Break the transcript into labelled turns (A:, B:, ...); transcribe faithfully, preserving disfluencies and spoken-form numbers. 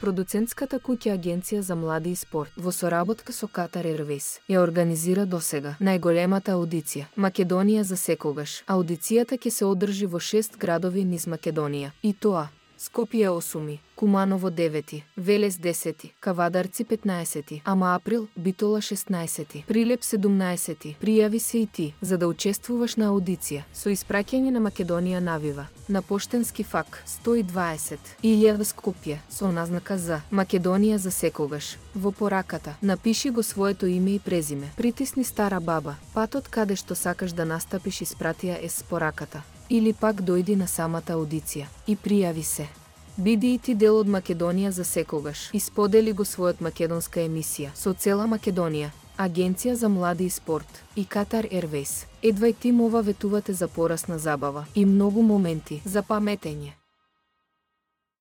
A: Продуцентската куќа Агенција за млади и спорт во соработка со Катар Ервејс ја организира досега најголемата аудиција Македонија за секогаш. Аудицијата ќе се одржи во шест градови низ Македонија, и тоа: Скопје осум, Куманово девет, Велес десет, Кавадарци петнаесет, Ама Април, Битола шеснаесет, Прилеп седумнаесет. Пријави се и ти за да учествуваш на аудиција со испраќање на Македонија навива на поштенски фак сто и дваесет илјади Скопје со назнака за Македонија за секогаш. Во пораката напиши го своето име и презиме. Притисни стара баба. Патот каде што сакаш да настапиш испратија е с пораката. Или пак дојди на самата аудиција и пријави се. Биди и ти дел од Македонија за секогаш и сподели го својот македонска емисија со цела Македонија, Агенција за млади и спорт и Катар Ервејс. Едвај тим ова ветувате за порасна забава и многу моменти за паметење.